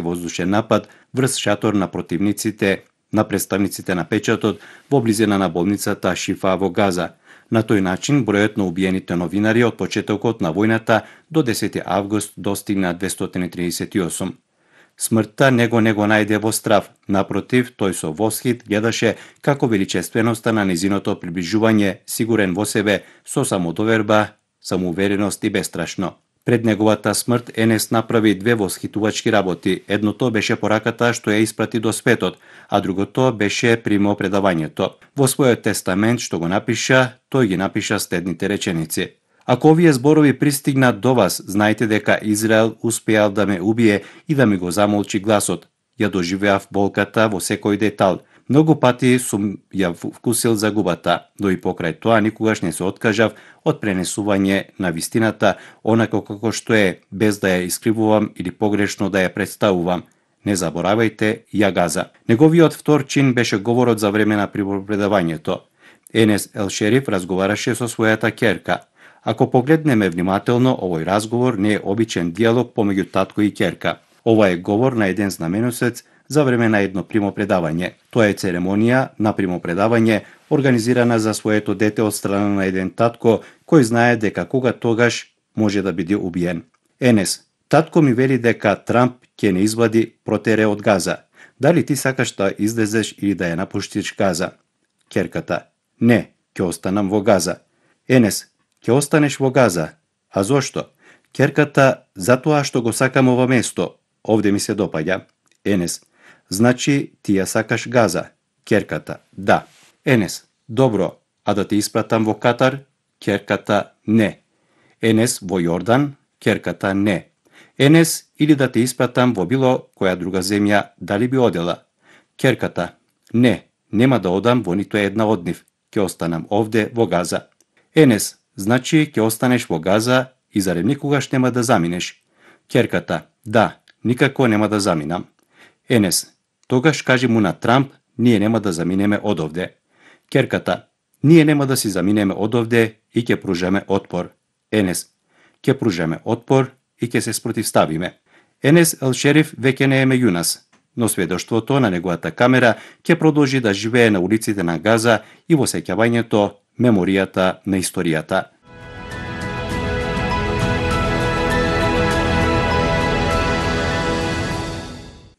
воздушен напад врз шатор на противниците на представниците на печатот во близина на болницата Шифа во Газа. На тој начин бројот на убиените новинари од почетокот на војната до 10 август достигна 238. Смртта не го најде во страв, напротив, тој со восхит гледаше како величественоста на незиното приближување, сигурен во себе, со самодоверба, самоувереност и бестрашно. Пред неговата смрт Енес направи две восхитувачки работи. Едното беше пораката што ја испрати до светот, а другото беше примопредавањето. Во својот тестамент што го напиша, тој ги напиша следните реченици: Ако овие зборови пристигнат до вас, знаете дека Израел успеал да ме убие и да ми го замолчи гласот. Ја доживеав болката во секој детал. Многу пати сум ја вкусил загубата, но и покрај тоа никогаш не се откажав од пренесување на вистината, онако како што е, без да ја искривувам или погрешно да ја представувам. Не заборавајте, ја газа. Неговиот втор чин беше говорот за време на припредавањето. Енес Ел Шериф разговараше со својата ќерка. Ако погледнеме внимателно, овој разговор не е обичен диалог помеѓу татко и ќерка. Ова е говор на еден знаменосец за време на едно примопредавање. Тоа е церемонија на примопредавање организирана за своето дете од страна на еден татко кој знае дека кога тогаш може да биде убиен. Енес, татко ми вели дека Трамп ќе не извади протере од Газа. Дали ти сакаш да излезеш или да ја напуштиш Газа? Ќерката, не, ќе останам во Газа. Енес, ќе останеш во Газа. А зошто? Ќерката, затоа што го сакам ова место. Овде ми се допаѓа. Енес, значи ти ја сакаш Газа. Ќерката, да. Енес, добро, а да те испратам во Катар? Ќерката, не. Енес, во Јордан? Ќерката, не. Енес, или да те испратам во било која друга земја, дали би одела? Ќерката, не, нема да одам во ниту една од нив. Ќе останам овде во Газа. Енес, значи ќе останеш во Газа и зарем никогаш нема да заминеш? Ќерката, да, никако нема да заминам. Енес, тогаш кажи му на Трамп, ние нема да заминеме одовде. Ќерката, ние нема да си заминеме одовде и ќе пружаме отпор. Енес, ќе пружаме отпор и ќе се спротивставиме. Енес Ел Шериф веќе не е меѓу нас, но сведоштвото на неговата камера ќе продолжи да живее на улиците на Газа и во сеќавањето, меморијата на историјата.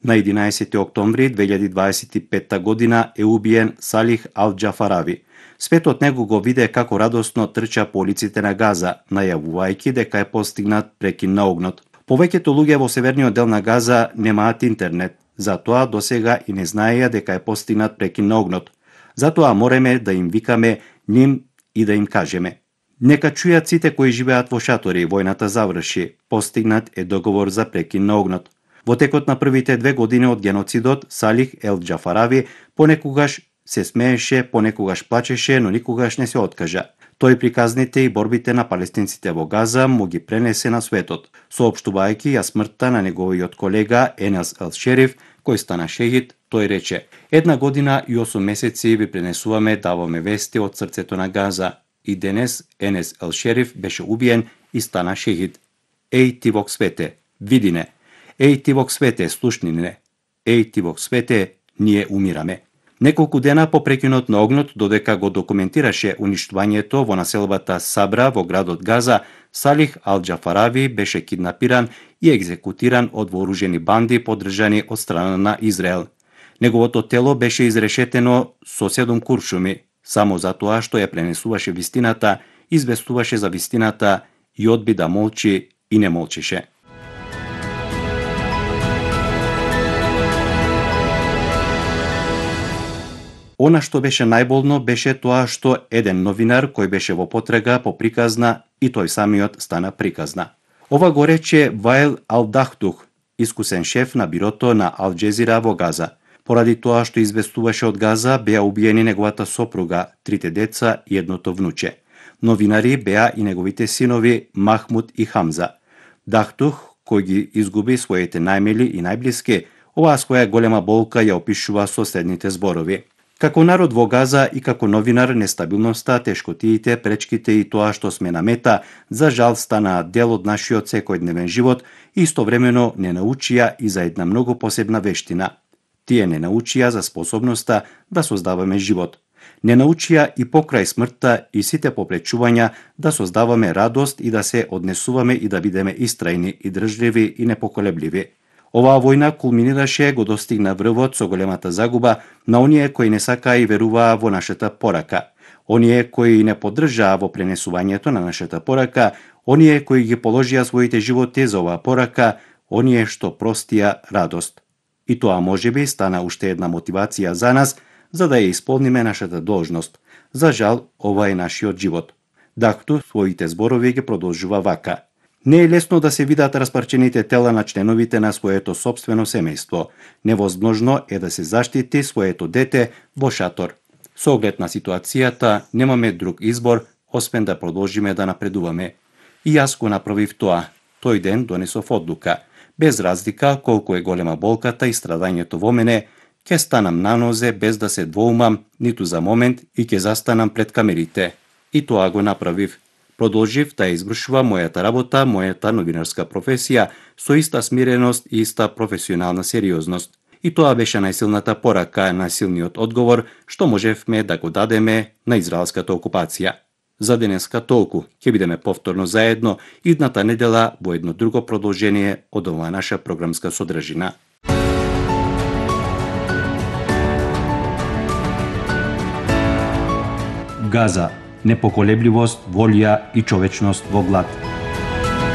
На 11. октомври 2025 година е убиен Салих Ал Џафарави. Светот него го виде како радосно трча по улиците на Газа, најавувајќи дека е постигнат прекин на огнот. Повеќето луѓе во северниот дел на Газа немаат интернет, затоа досега и не знаеја дека е постигнат прекин на огнот. Затоа мореме да им викаме ним и да им кажеме: нека чујат сите кои живеат во шатори, војната заврши, постигнат е договор за прекин на огнот. Во текот на првите 2 години од геноцидот, Салих Ел Џафарави понекогаш се смееше, понекогаш плачеше, но никогаш не се откажа. Тој приказните и борбите на палестинците во Газа му ги пренесе на светот, соопштувајќи ја смртта на неговиот колега Енес Ел Шериф, кој стана шејид. Тој рече: 1 година и 8 месеци ви пренесуваме, даваме вести од срцето на Газа. И денес Енес Ел Шериф беше убиен и стана шејид. Еј ти во свете, види не. Еј ти во свете, слушни не. Еј ти во свете, ние умираме. Неколку дена по прекинот на огнот, додека го документираше уништувањето во населбата Сабра во градот Газа, Салих Ал Џафарави беше киднапиран и екзекутиран од вооружени банди поддржани од страна на Израел. Неговото тело беше изрешетено со 7 куршуми, само затоа што ја пренесуваше вистината, известуваше за вистината и одби да молчи и не молчеше. Она што беше најболно беше тоа што еден новинар кој беше во потрага по приказна и тој самиот стана приказна. Ова го рече Ваел Ал Дахтух, искусен шеф на бирото на Ал Џезира во Газа. Поради тоа што известуваше од Газа, беа убиени неговата сопруга, 3 деца и едното внуче. Новинари беа и неговите синови Махмуд и Хамза. Дахтух, кој ги изгуби своите најмили и најблиски, оваа своја голема болка ја опишува со следните зборови. Како народ во Газа и како новинар, нестабилноста, тешкотиите, пречките и тоа што сме на мета, за жал станаат дел од нашиот секојдневен живот и истовремено не научија и за една многу посебна вештина. Тие не научија за способноста да создаваме живот. Не научија и покрај смртта и сите попречувања да создаваме радост и да се однесуваме и да бидеме истрајни и држливи и непоколебливи. Оваа војна кулминираше, го достигна врвот со големата загуба на оние кои не сакаа и веруваа во нашата порака, оние кои не поддржаа во пренесувањето на нашата порака, оние кои ги положија своите животи за оваа порака, оние што простија радост. И тоа можеби стана уште една мотивација за нас, за да ја исполниме нашата должност. За жал, ова е нашиот живот. Дахту своите зборови ги продолжува вака. Не е лесно да се видат распарчените тела на членовите на своето собствено семејство. Невозможно е да се заштити своето дете во шатор. Со оглед на ситуацијата, немаме друг избор, освен да продолжиме да напредуваме. И јас го направив тоа. Тој ден донесов одлука. Без разлика колку е голема болката и страдањето во мене, ќе станам на нозе без да се двоумам ниту за момент и ќе застанам пред камерите. И тоа го направив. Продолжив да извршувам мојата работа, мојата новинарска професија со иста смиреност и иста професионална сериозност. И тоа беше најсилната порака, најсилниот одговор што можевме да го дадеме на израелската окупација. За денеска толку. Ќе бидеме повторно заедно идната недела во едно друго продолжение од оваа наша програмска содржина. Газа. Непоколебливост, волја и човечност во глад.